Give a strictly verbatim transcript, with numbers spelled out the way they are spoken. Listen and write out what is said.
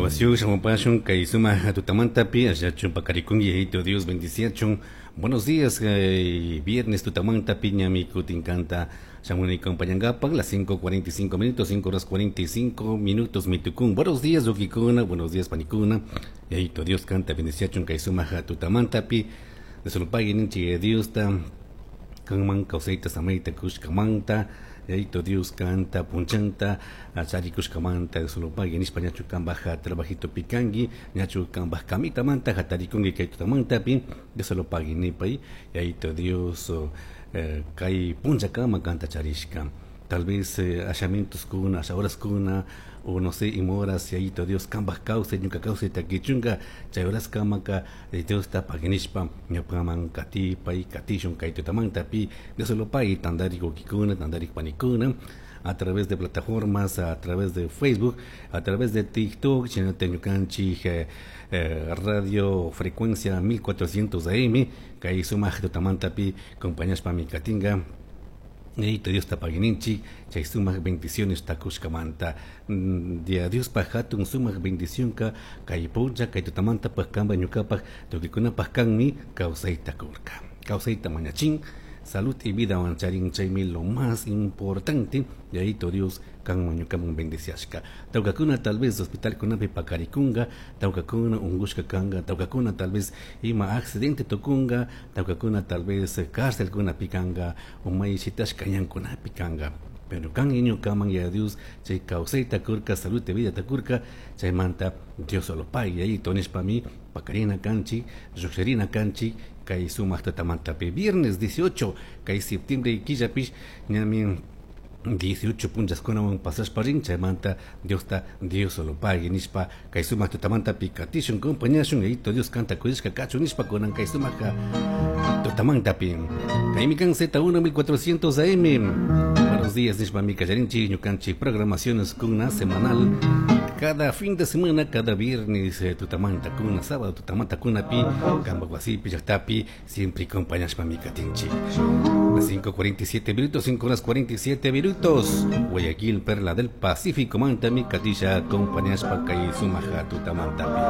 Grabación shamupashun kay sumaq tutamantapi allachun pakarikunki, Yayito Dios bendiciachun. Buenos días, eh, viernes tutamantapi ñami kutin kanta shamuni acompañangapak las cinco cuarenta y cinco minutos, cinco horas cuarenta y cinco minutos mitukun. Buenos días, wawkikuna, buenos días, panikuna. Yayito Dios kanta bendiciachun kay sumaq tutamantapi. Diosolo pagui ninchik Diosta kanman kawsayta samayta kushkamanta. Yayito Dios kanta punchanta charikushkamanta Diosolo pagui nishpa. Ñachu kambaj trabajitopi kanki, ñachu kambaj kamitamanta hatarikunki kay tutamantapi? Diosolo pagui nipay. Yayito Dios eh, kay punchakama kanta charishka. Tal vez eh, ashamitoskuna, asha horaskuna o no sé ima horas Yayito Dios kambaj kawsay, ñuka kawsayta kichunka, chay horaskamaka eh, Diosta pagui nishpa ñukaman katipay, katishun kay tutamantapi. Diosolo pagui, tandarik wawkikuna, tandarik panikuna, a través de plataformas, a través de Facebook, a través de TikTok, shinata ñukanchik eh, eh, radio frecuencia mil cuatrocientos A M, kay sumaq tutamantapi compañashpami katinga. Yayito Diosta pagui ninchik chay sumaq bendiciones takushkamanta. Dia Diospaj hatun sumaq bendicionka kay puncha, kay tutamantapaj kanpa, ñukapaj, tukuykunapaj kanmi kawsayta kurka, kawsayta mañachin, salud y vida charin, chaymi lo más importante. Yayito Dios kanman ñukaman bendiciashka. Tawkakuna tal vez hospitalkunapi pakarikunga, tawkakuna ungushka kanga, tawkakuna tal vez ima accidente tukunga, tawkakuna tal vez cárcelkunapi kanga o may shitashka ñankunapi kanga, pero kan ñukaman ya Dios chay kawsayta kurka, salud y vida kurka. Chaymanta Diosolo pagui, Yayito nishpami pakarina kanchik, llukshirina kanchik kay sumaq tutamantapi. Viernes dieciocho kay septiembre killapish ñami dieciocho punchaskunawan pasashpa rin. Chaymanta Diosta Diosolo pagui nishpa kay sumaq tutamantapi katishun, compañashun. Yayito Dios kanta kuyashka kachun nishpa kunan kay sumaq tutamantapi. Kaymi kan Z uno mil cuatrocientos A M. Buenos días nishpa mi kallarinchik ñukanchik programaciones kuna semanal, cada fin de semana, cada viernes eh, tutamanta kuna, sábado tutamanta kunapi, kanpak wasipi, llaktapi, siempre acompañashpa mi katinchik. Las cinco cuarenta y siete minutos, cinco horas cuarenta y siete minutos. Guayaquil, Perla del Pacífico, mantami katisha acompañashpa kay sumaja tutamantapi.